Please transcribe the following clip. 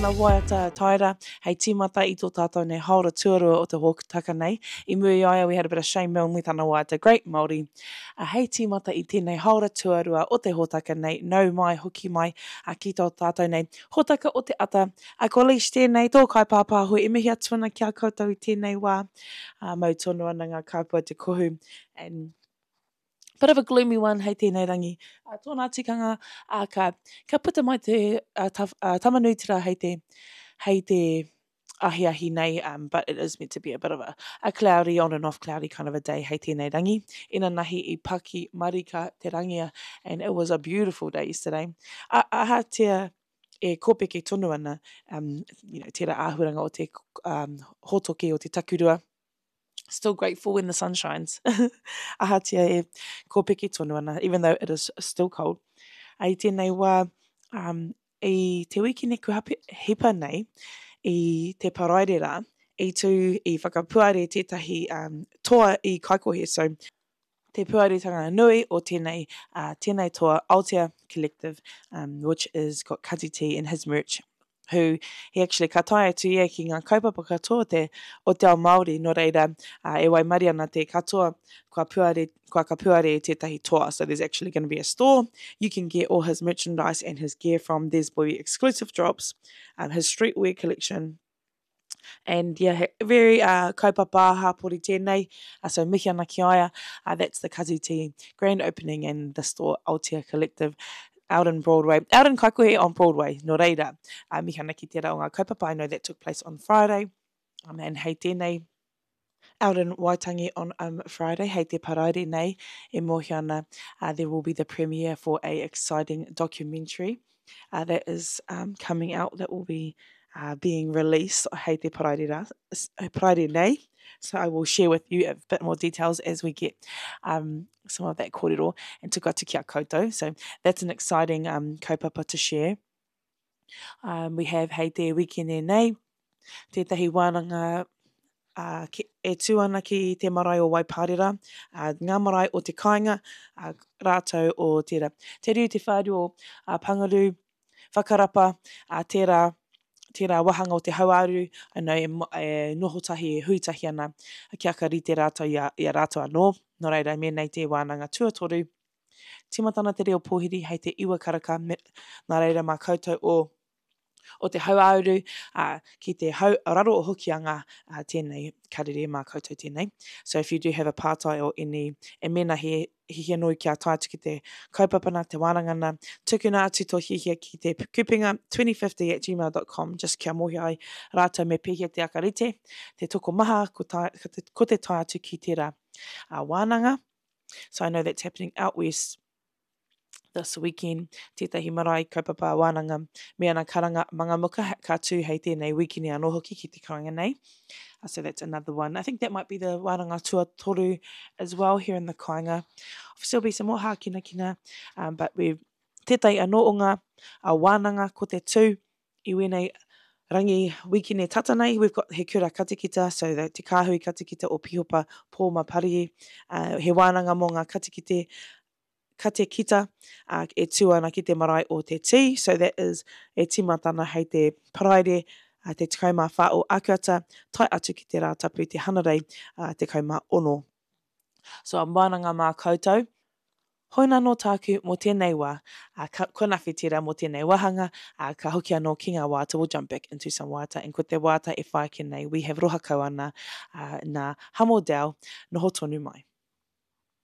Tana waiata Taira hei tīmata i tō tātou nei hāora tuarua o te hōtaka nei. I mua i a ia we had a bit of Shane Milne me tana waiata Great Māori. A hei tīmata i tēnei hāora tuarua o te hōtaka nei, nau mai, hoki mai a ki tō tātou nei hōtaka o te ata. A ko Leash tēnei, tō kaipāpāho e mihi atu ana ki a koutou i tēnei wā. A mau tonu ana ngā kāpua te kohu and bit of a gloomy one hei tēnei rangi. Uh, tōna tikanga, uh, ka, ka puta mai te uh, ta, uh, Tamanuiterā hei te, hei te ahiahi nei, um, but it is meant to be a bit of a, a cloudy, on and off cloudy kind of a day hei tēnei rangi. Inanahi i paki marika te rangia, and it was a beautiful day yesterday. A, ahatia e kōpeke tonu ana, um, you know, tērā āhuranga o te um, hōtoke o te takurua, Still grateful when the sun shines. Ahatia e kōpeke tonu ana, even though it is still cold. I tēnei wā, um, i te wikine kua hipa nei, i te Paraire rā, i tū i whakapuare tētahi um, toa i Kaikohe. So, te puaretanga nui o tēnei, uh, tēnei toa, Aotea Collective, um, which is got Kati T in his merch, who he actually ka tae atu ia ki ngā kaupapa katoa o te, o te ao Māori, nō reira, uh, e waimarie ana te katoa kua puare, kua ka puare i tētahi toa. So there's actually going to be a store. You can get all his merchandise and his gear from. There's be exclusive drops, um, his streetwear collection, And yeah, he very uh, kaupapa hāpori tēnei, uh, so mihi ana ki a ia. Uh, that's the Kazi Tea grand opening and the store Aotea Collective out in Broadway, out in Kaikohe on Broadway, nō reira. Uh, mihi ana ki tērā o ngā kaupapa, I know that took place on Friday. Um, and hei tēnei, out in Waitangi on um, Friday, hei te paraire nei, e mōhio ana, uh, there will be the premiere for a exciting documentary uh, that is um, coming out that will be uh, being released hei te paraire, rā, paraire nei. So I will share with you a bit more details as we get um, some of that kōrero and tuku atu ki a koutou. So that's an exciting um, kaupapa to share. Um, we have hei te wikene nei, tētahi wānanga uh, ki, e tū ana ki te marae o Waipārera, uh, ngā marae o te kāinga, uh, rātou o tērā. Te riu te whāru o uh, Pangaru, Whakarapa, uh, tērā, tērā wāhanga o te hauāuru, I know, e, e noho tahi, e hui tahi ana, kia ka rite rātou i a, i a rātou anō. Nō reira, mēnei te wānanga tuatoru, Tīmata ana te reo pōhiri hei te iwa karaka, me, nā reira mā koutou o, o te hauāuru, ā, ki te hau raro o Hokianga, ā, tēnei karere mā koutou tēnei. So if you do have a pātai or any, e mēnā he hiahia nōu kia tae atu ki te kaupapa nā, te wānanga nā, tukuna atu tō hiahia ki te kupenga 2050 at gmail dot com, just kia mōhio ai rātou me pēhea te aka rite, te tokomaha ko, tae, ko, te, ko te tae atu ki tērā ā, wānanga. So I know that's happening out west this weekend, tētahi marae kaupapa wānanga me ana karanga mangamuka ka tū hei tēnei wikini anō hoki ki te kāinga nei. Uh, so that's another one. I think that might be the wānanga tuatoru as well here in the kāinga. Obviously there'll be some more hākinakina, um, but we've tētahi anō o ngā uh, wānanga ko te tū I wēnei rangi wikine tata nei, we've got he kura katikita, so the Te Kāhui Katikita o Pihopa Pōma Parie, uh, he wānanga mō ngā katikite, katekita, uh, e tū ana ki te marae o Te Tī, so that is e tīmata ana hei te Paraire, uh, te 14 o Akuata, tae atu ki te Rātapu, te Hanarei, uh, 16. So a wānanga mā koutou. Hoi nā tāku mō tēnei wā, ā, ka, kua nawhi tērā mō tēnei wāhanga, ā, ka hoki anō ki ngā waiata, we'll jump back into some waiata, and ko te waiata e whai ake nei, we have Roha Kau Ana, ā, nā Hamo Dell, noho tonu mai.